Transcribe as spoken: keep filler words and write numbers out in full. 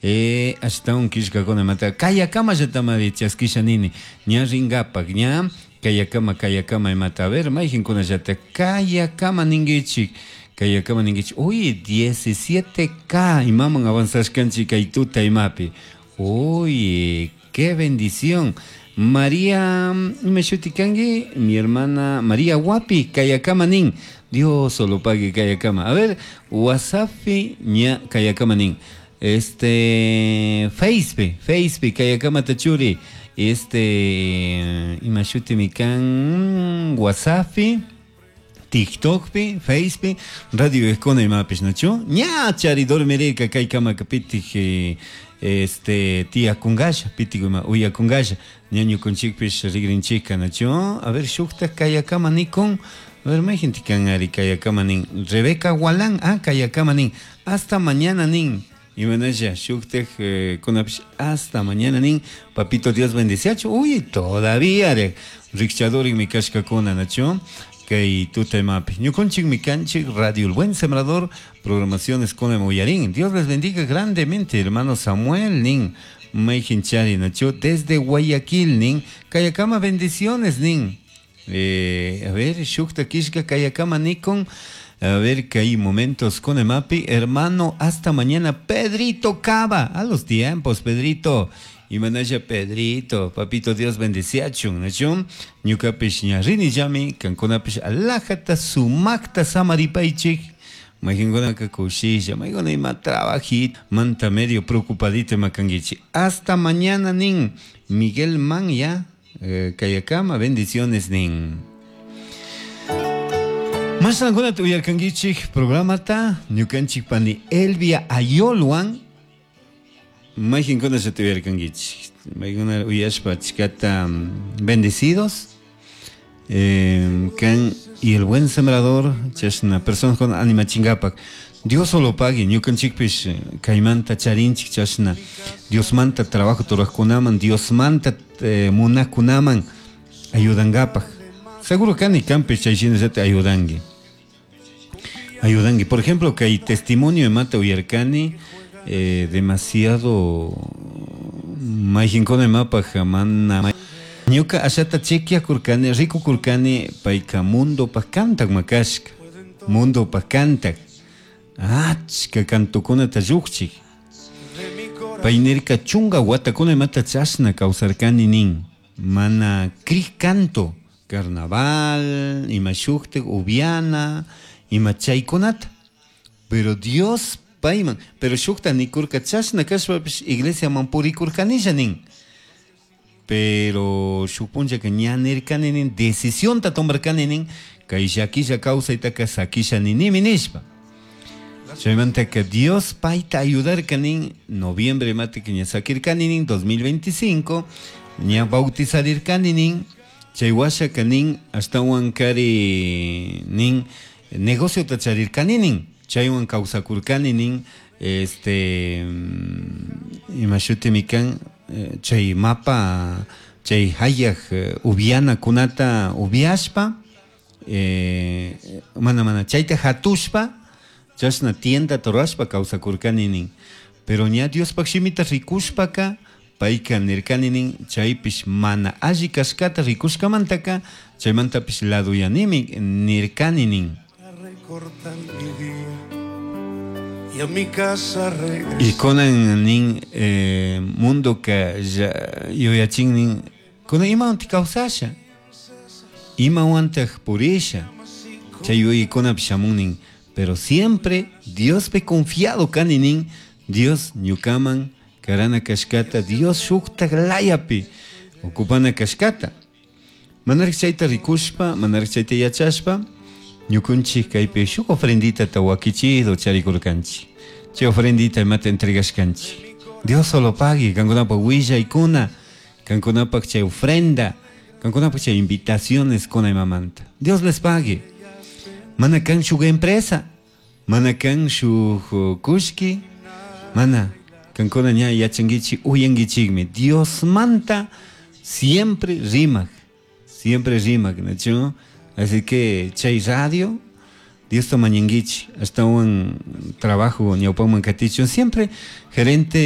Eh, ashtawan killkakunamanta kayakamallatamari chaskisha nini ña rinkapak ña kayakama kayakama imata. A ver, mayqinkunallata kayakama ninkichik, kayakama ninkichik. Uy, diecisiete k imaman avanzashkanchik kay tuta imapi. Uy, qué bendición. María, ima shuti kanki? Mi hermana María Wapi, kayakama nin. Dios solo pague kayakama. A ver, WhatsApp ña kayakama nin. Este, Facebook, Facebook, kayakama tachuri. Este, ima shutimi kan WhatsApp, TikTokpi, Facebook, Radio Escona imapish, nachu? Ña chari dormirirka kaykamaka pitik eh, este tiyakungasha, pitik ima uyakungasha, ña ñukunchikpish rigrinchikka, nachu? A ver, shukta kayakama nikun. A ver, mayqinti kan ari kayakama nin. Rebeca Walán, ah, kayakama nin. Hasta mañana nin. Imanasha, shuktaj eh, kunapish hasta mañana nin. Papito Dios bendeciachu. Uy, todavía re. Rikchadorin kashkakuna, nachu? Kay tuta imapi. Ñukunchik kanchik Radio El Buen Sembrador, programaciones con uyarin. Dios les bendiga grandemente, hermano Samuel nin. Mayqinchari, nachu? Desde Guayaquil nin. Kayakama bendiciones nin. Eh, a ver, shukta kishka kayakama nikon. A ver que hay momentos con Emapi. Hermano, hasta mañana. Pedrito Cava. A los tiempos, Pedrito. Imanasha Pedrito, papito Dios bendeciachun, nachun, ñukapish ña rini llami, kankunapish alajata sumakta samaripaychik, mayqinkunaka kushisha, maykuna ima trabajit, manta medio preocupadito ima kankichik. Hasta mañana nin, Miguel Manya, eh, kayakama, bendiciones nin. Mashankunata uyarkankichik programata, ñukanchik pani Elvia Ayolwan, mayqinkuna se uyarkankichik, maykuna uyashpa achkata bendecidos, eh, kan y el Buen Sembrador, chashna persona con animachingapak. Dios solo pague, ñukanchikpish kaymanta charinchik chashna Diosmanta trabajo ruraqkunaman, Diosmanta eh, munaqkunaman ayudangapak. Seguro kani kanpish chay shinallata ayudanki. Ayudanki. Por ejemplo, kay testimonio imata uyarkani eh, demasiado mayqinkuna imapaj mana ñuka ashata chequeakurkani, rikukurkani payka mundopaj kantak makashka, mundopaj kantak, achka kantukunata llukchik. Pay nirka chunka watakuna imata chashna kawsarkani nin, mana crik canto, carnaval, ima shuktik upiana, ima chaykunata. Pero Dios payman, pero shukta nikurka chashna kashpapish iglesiaman purikurkanisha nin. Pero shuk punllaka ña nirkani nin, decisionta tomarkani nin, kay llakilla kawsaytaka sakisha ninimi nishpa. Chaymantaka Dios payta ayudarka nin, noviembre mati ña sakirkani nin, dos mil veinticinco, ña bautizarirkani nin, chay washaka nin, ashtawan kari nin, negociota charirkani nin, chaywan kawsakurkani nin, este, ima shutimi kan, chay mapa, chay hayaj upianakunata upiashpa, eh, mana mana, chayta hatushpa, chashna tienda rurashpa kawsakurkani nin. Pero ña Diospaj shimita rikushpaka, payka nirkani nin, chaypish mana alli kashkata rikushkamantaka, chaymantapish laduyanimi nirkani nin. Recortar mi día y a mi casa regresar. Y kunan nin eh, mundoka yuyachin nin, kunan imawantik kawsasha, imawantaj purisha, chay yuyaykunapish shamun nin, pero siempre Diospi confiado kani nin, Dios ñukaman karana kashkata, Dios shuktak layapi ocupana kashkata. Manarik chayta rikushpa, manarik chayta yachashpa, ñukunchik kaypi shuk ofrendita wakichido charikurkanchik. Chay ofrendita imata entregashkanchik. Dios solo pague, kankunapak willaykuna, kankunapak chay ofrenda, kankunapak chay invitaciones kuna imamanta. Dios les pague. Mana kan shuk empresa, mana kan shuk kushki, mana kankuna ña yachankichik, uyankichikmi. Diosmanta siempre rimak, siempre rimak, ¿no? Así que chay radio, Diosta mañanguichik ashtawan trabajo ñawpaman katichun siempre gerente.